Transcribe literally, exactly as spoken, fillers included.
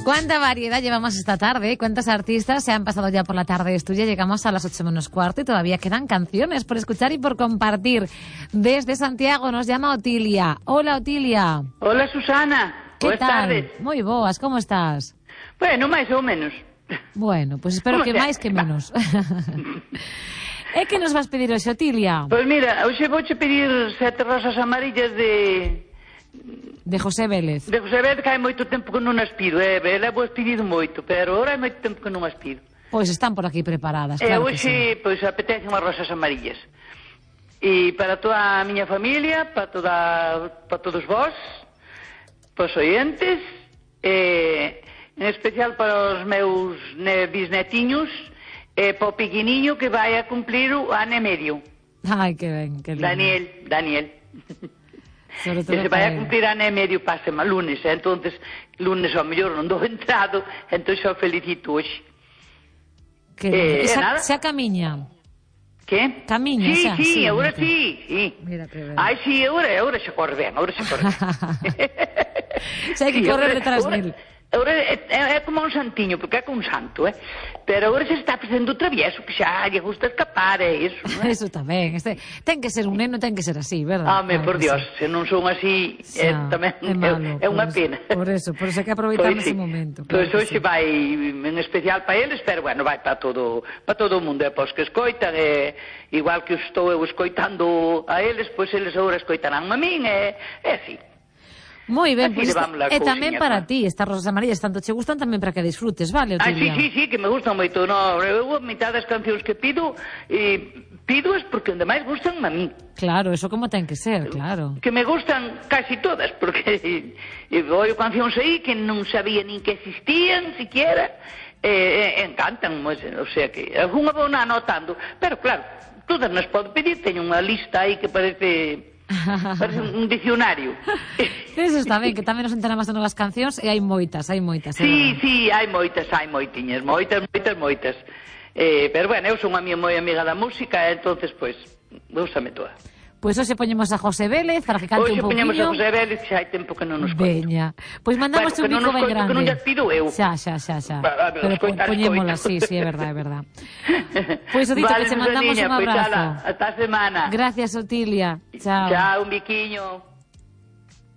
Cuánta variedad llevamos esta tarde, cuántos artistas se han pasado ya por la tarde estudia. Llegamos a las ocho menos cuarto y todavía quedan canciones por escuchar y por compartir. Desde Santiago nos llama Otilia. Hola, Otilia. Hola, Susana. ¿Qué Buenas tal? tardes. Moi boas, como estás? Bueno, máis ou menos. Bueno, pues espero Como que sea. máis que menos. É que nos vas pedir hoxe, Otilia? Pois mira, hoxe vouche pedir sete rosas amarillas de... De José Vélez. De José Vélez, que hai moito tempo que non as pido. Eh? Levo as pedido moito, pero ahora hai moito tempo que non as pido. Pois están por aquí preparadas, E claro que sí. hoxe, pois, apetece unhas rosas amarillas. E para toda a miña familia, para, toda, para todos vós, para os ointes, e en especial para os meus ne, bisnetiños, e para o pequeniño que vai a cumplir o ano e medio. Ai, que ben, que lindo. Daniel, Daniel. Sobre todo Que se vai a para cumplir ano e medio pásema lunes, e entonces lunes ao mellor non dou entrado, entón xa o felicito hoxe. Que Eh, e e xa, nada. xa camiña. Que? Camiña, sí, xa, sí, sí, agora mira. sí, sí. Mira que ben. Ai, sí, agora, agora xa corre ben, agora xa corre ben. Xa hai que Sí, correr agora- detrás agora- del. Agora é, é, é como un santiño, porque é como un santo, eh? Pero agora se está facendo travieso, que xa lle gusta escapar, é iso, non é? Eso tamén. Este, ten que ser un neno, ten que ser así, verdad? Home, Claro por que Dios, sí. se non son así, é, Xa, tamén é malo, é, é unha por pena. eso- Por eso, por eso hai que aproveitar Pois nese sí. momento. Claro Pois que hoxe sí. vai en especial para eles, pero bueno, vai para todo, para todo o mundo, é para os que escoitan, e igual que estou eu escoitando a eles, pois eles agora escoitarán a min, e é así. Moi ben, Así pois levamos esta, las e tamén cousiñas, para ¿no? ti, estas rosas amarillas tanto che gustan tamén para que disfrutes, vale, Ai, sí, Otilia? sí, sí, que me gustan moito, no, eu a mitad das cancións que pido, e pido es porque onde máis gustan a mí. Claro, eso como ten que ser, claro. Que me gustan casi todas, porque e oio cancións aí que non sabía nin que existían, siquiera, e, e encantan, pues, o sea que algunha vou na anotando, pero claro, todas nas podo pedir, teño unha lista aí que parece... Parece un diccionario. Eso está ben, que tamén nos enteramos de novas cancións e hai moitas, hai moitas. é Sí, verdad. sí, hai moitas, hai moitiñas, moitas, moitas, moitas. Eh, pero bueno, eu son a miña moi amiga da música, e entonces, pois, úsame toda. Pois hoxe poñemos a José Vélez para que cante Hoxe un poñemos a pouquiño. José Vélez, que xa hai tempo que non nos coita. Veña. Pois mandamos Bueno, un que non bico nos ben coito, grande. que non llas pido eu. Xa, xa, xa, xa. Va, va, Pero po, escoitar, poñémola, sí, escoito. sí, é verdad, é verdad. Pois o dito, Vale, que che mandamos Susaniña, un pois, abrazo. ala, hasta a semana. Gracias, Otilia. Chao. Chao, un biquiño.